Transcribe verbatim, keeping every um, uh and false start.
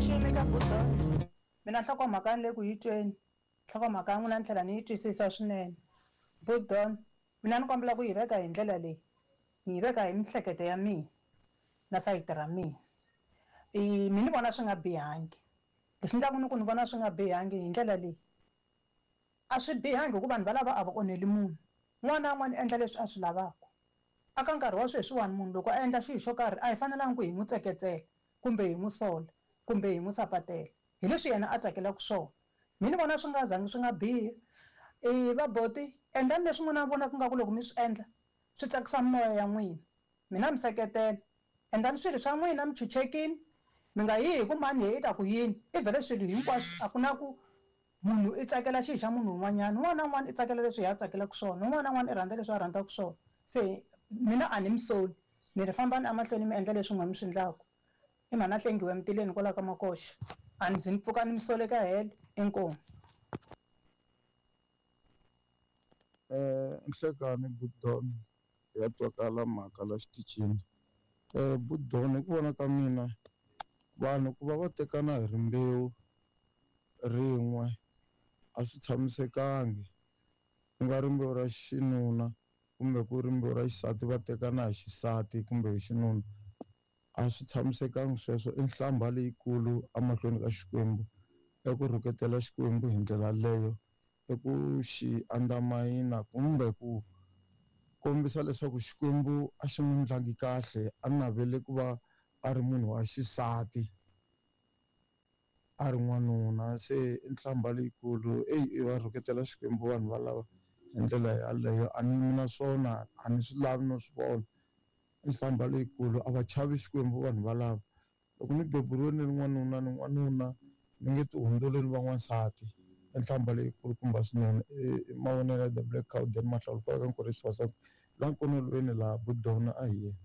Maximi ka budo. Mina nhlokomhaka ni le ku yi tweni, nhlokomhaka ya n'wina ni tlhela ni yi twisisa swinene. Budon, mina ni kombela ku yi veka hi ndlela leyi, ni yi veka hi mihleketo ya mina na sayiti ra mina. I mi ni vona swi nga bihangi. Leswi endlaka ni ku ni vona swi nga bihangi hi ndlela leyi, a swi bihangi hikuva vanhu valava a va onheli munhu. Un'wana na un'wana u endla leswi a swi lavaka. Aka nkarhi wa sweswiwani munhu loko a endla xilo xo karhi a hi fanelanga ku hi n'wi tseketsela kumbe hi n'wi sola kumbe hi n'wi sapatela hi leswi yena a tsakelaka swona. Mi ni vona swi nga zangi swi nga bihi. E vaboti endlani leswi n'wina vonaka nga ku loko mi swi endla swi tsakisa mimoya ya n'wina. Mina mi seketela, endlani swilo swa n'wina mi chuchekile, mi nga yi hi ku mani hi ta ku yini. I vhele swilo hinkwaswo a ku na ku munhu i tsakela xilo xa munhu un'wanyana. Un'wana na un'wana i tsakela leswi hi a tsakelaka swona, un'wana na un'wana i rhandza leswi a rhandzaka swona. Se mina a ni mi soli, ni ri fambani emahlweni mi endla leswi n'we mi swi endlaka. I mhani a hlengiwe emitileni kwalaho ka makoxa, a ni zi ni pfuka ni mi sole ka helo. Inkomu. Eh nhlekani Budon ya twakala mhaka la xitichini. Eh Budon hi ku vona ka mina vanhu ku va va tekana hi rimbewu rin'we a swi tshamisekangi, ku nga rimbewu ra xinuna kumbe ku rimbewu ra xisati va tekana hi xisati kumbe hi xinuna, a swi tshamisekangi sweswo. I nhlambha leyikulu emahlweni ka Xikwembu, i ku rhuketela Xikwembu hi ndlela leyo, i ku xi andamayina kumbe ku kombisa leswaku Xikwembu a xi n'wi endlangi kahle, a navele ku va a ri munhu wa xisati a ri n'wanuna. Se i nhlambha leyikulu, eyi va rhuketela Xikwembu vanhu valava hi ndlela yaleyo. A ni yimi na swona, a ni swi lavi no swi vona. I nhlambha leyikulu, a va chavi Xikwembu vanhu valava. Loko ni beburiwe ni ri n'wanuna ni n'wanuna, ni nge ti hundzuli ni va n'wansati. I nhlambha leyikulu kumba swinene. I mavonelo ya The Black Cow, Dan Mahlawula kwala ka Nkurisi Fasaka, la nkonolweni laha Budona a hi yena.